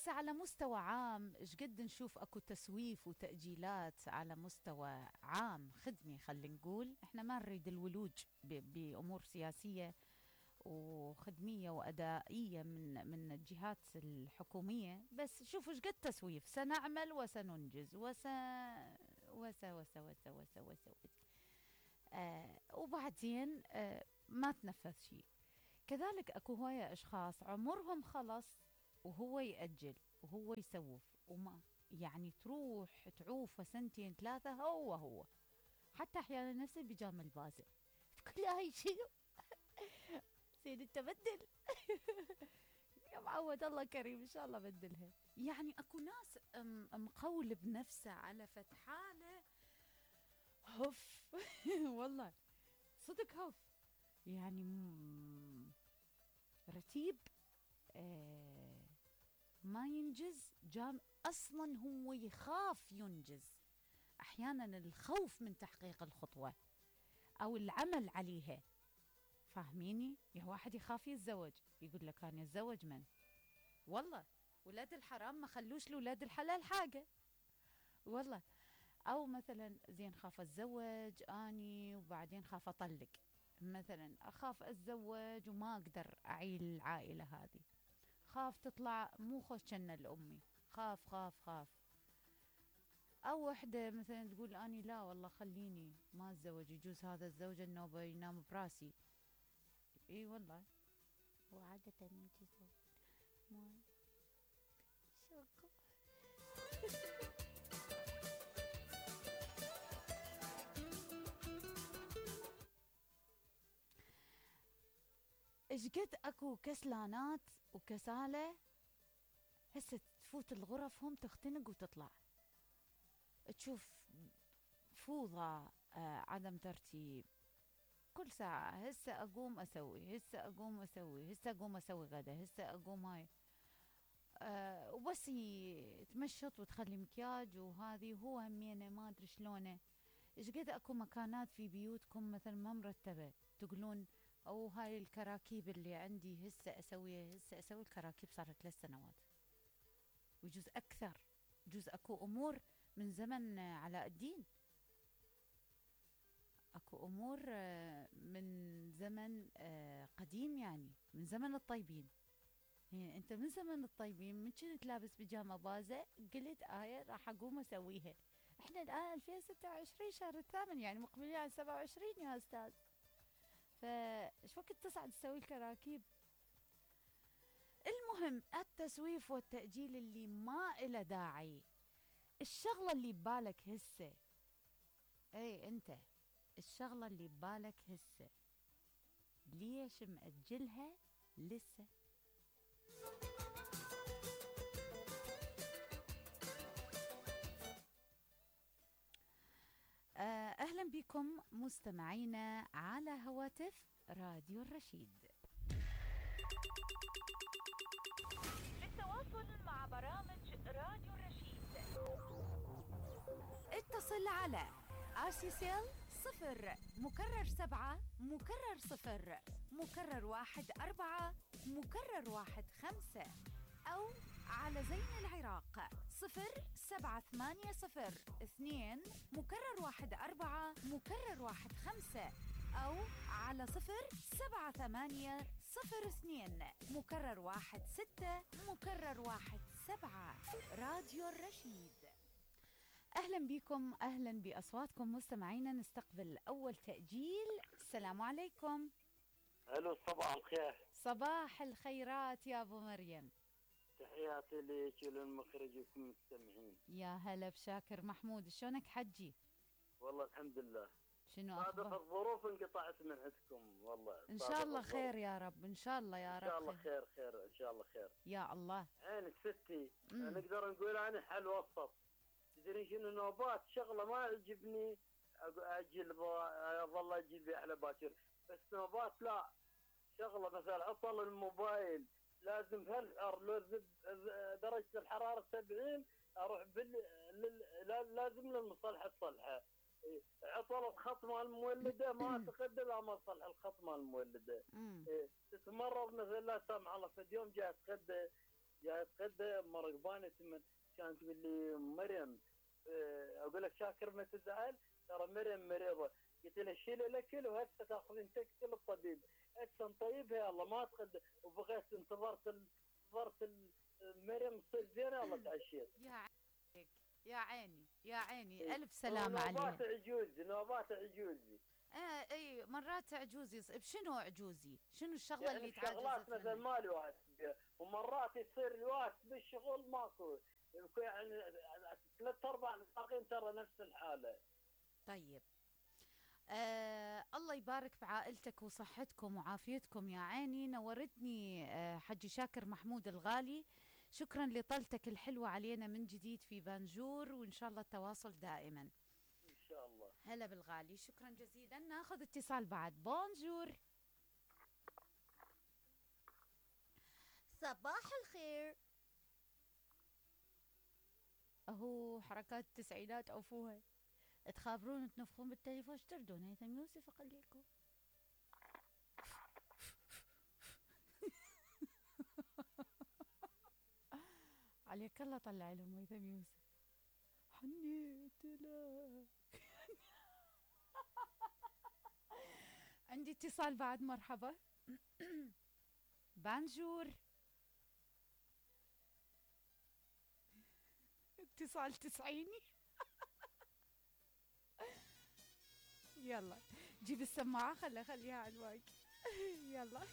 هسه على مستوى عام ايش قد نشوف اكو تسويف وتأجيلات على مستوى عام خدمي، خلينا نقول احنا ما نريد الولوج بأمور سياسية وخدمية وأدائية من الجهات الحكومية، بس شوفوا ايش قد تسويف، سنعمل وسننجز وس وبعدين ما تنفذ شيء. كذلك اكو هواية اشخاص عمرهم خلص وهو يأجل وهو يسوف، وما يعني تروح تعوف سنتين ثلاثة هو حتى احيانا نفس البيجامة البازة تقول لي هاي شنو زين انت بدل يا معود الله كريم ان شاء الله بدلها. يعني اكو ناس مقول بنفسه على فتحاله هف والله صدق هف، يعني رتيب ما ينجز جام اصلا هو يخاف ينجز. احيانا الخوف من تحقيق الخطوة او العمل عليها، فاهميني؟ يا واحد يخاف يتزوج يقول لك انا اتزوج من والله ولاد الحرام ما خلوش لولاد الحلال حاجة والله. او مثلا زين خاف اتزوج اني وبعدين خاف اطلق، مثلا اخاف اتزوج وما اقدر اعيل العائلة هذه، خاف تطلع مو خوش جنة لأمي، خاف خاف خاف. او وحدة مثلا تقول اني لا والله خليني ما اتزوج، يجوز هذا الزوج انه ينام براسي. اي والله وعادة يجوز ما شوكو ايش قد اكو كسلانات وكسالة هسه تفوت الغرف هم تختنق وتطلع، تشوف فوضى عدم ترتيب كل ساعة. هسه أقوم أسوي، هسه أقوم أسوي، هسه أقوم أسوي غدا، هسه أقوم هاي وبس تمشط وتخلي مكياج وهذه. هو همينه ما أدري شلونه. إيش قد أكو مكانات في بيوتكم مثلا ما مرتبة تقولون أو هاي الكراكيب اللي عندي هسه أسويها، هسه أسوي الكراكيب صار 3 سنوات ويجوز أكثر. يجوز أكو أمور من زمن علاء الدين، اكو امور من زمن قديم، يعني من زمن الطيبين. يعني انت من زمن الطيبين من كنت لابس بيجامه بازه قلت راح اقوم اسويها. احنا الان 2026 شهر الثامن، يعني مقبلين على 27 يا استاذ، فايش وقت تصعد تسوي الكراكيب. المهم التسويف والتأجيل اللي ما إله داعي. الشغلة اللي ببالك هسه، اي انت الشغلة اللي ببالك هسه ليش مأجلها لسه؟ أهلا بكم مستمعينا على هواتف راديو الرشيد. للتواصل مع برامج راديو الرشيد اتصل على آسيسيل 0 مكرر 7 مكرر 0 مكرر 1 4 مكرر 1 5، أو على زين العراق 07802 مكرر 1 4 مكرر 1 5، أو على 07802 مكرر 1 6 مكرر 1 7. راديو الرشيد. أهلا بكم، أهلا بأصواتكم مستمعينا. نستقبل أول تأجيل. السلام عليكم. الو صباح الخير. صباح الخيرات يا أبو مريم. تحياتي لك وللمخرجكم المستمعين. يا هلا بشاكر محمود، شلونك حجي؟ والله الحمد لله. شنو أخبار؟ صادف الظروف انقطعت من عندكم والله. إن شاء الله خير يا رب، إن شاء الله يا رب. إن شاء الله خير خير إن شاء الله خير. يا الله. عينك ستي. نقدر نقول أنا حل وسط. تدري شنو نوبات شغلة ما يعجبني أجل ظل أجل بي على باكر، بس نوبات لا. شغلة مثلا عطل الموبايل لازم هالعر درجة الحرارة 70 أروح لازم للمصلحة تصلحه. عطل الخط مال المولدة ما أتقدر لا ما تصلح الخط مال المولدة. تتمرض مثلا لا سامح الله في اليوم جاي تقدر جاي اتغدى مرقبانه ثمن، كانت تقول لي مريم اقول لك شاكر ما تزعل، ترى مريم مريضه. قلت لها شيل الاكل وهسه تاخذين تكتل الطبيب، هسه نطيبها يلا ما تغدى. وبغيت انتظرت مريم تصير زينه، والله تعشيت. يا عيني يا عيني يا عيني، الف سلامه نوبات عليها. عجوزي نوبات عجوزي. اي مرات عجوزي بشنو عجوزي؟ شنو الشغله يعني اللي بشغلات تعجزت مثلا منها؟ ما الواحد فيها، ومرات يصير الواحد بالشغل ماكو، يعني ثلاث ارباع الباقيين ترى نفس الحاله. طيب، الله يبارك بعائلتك وصحتكم وعافيتكم يا عيني. نورتني حجي شاكر محمود الغالي. شكرا لطلتك الحلوة علينا من جديد في بانجور، وإن شاء الله التواصل دائما. ان شاء الله. هلا بالغالي، شكرا جزيلا. ناخذ اتصال بعد. بونجور. صباح الخير. اهو حركات التسعينات عفوها. تخابرون تنفخون بالتليفون، اشتردون هيثم يوسف اقليكم. عليك الله طلع لهم هيثم يوسف. حنيت لك. عندي اتصال بعد، مرحبا. بانجور. اتصال تسعيني. يلا جيب السماعة، خليها على المايك. يلا.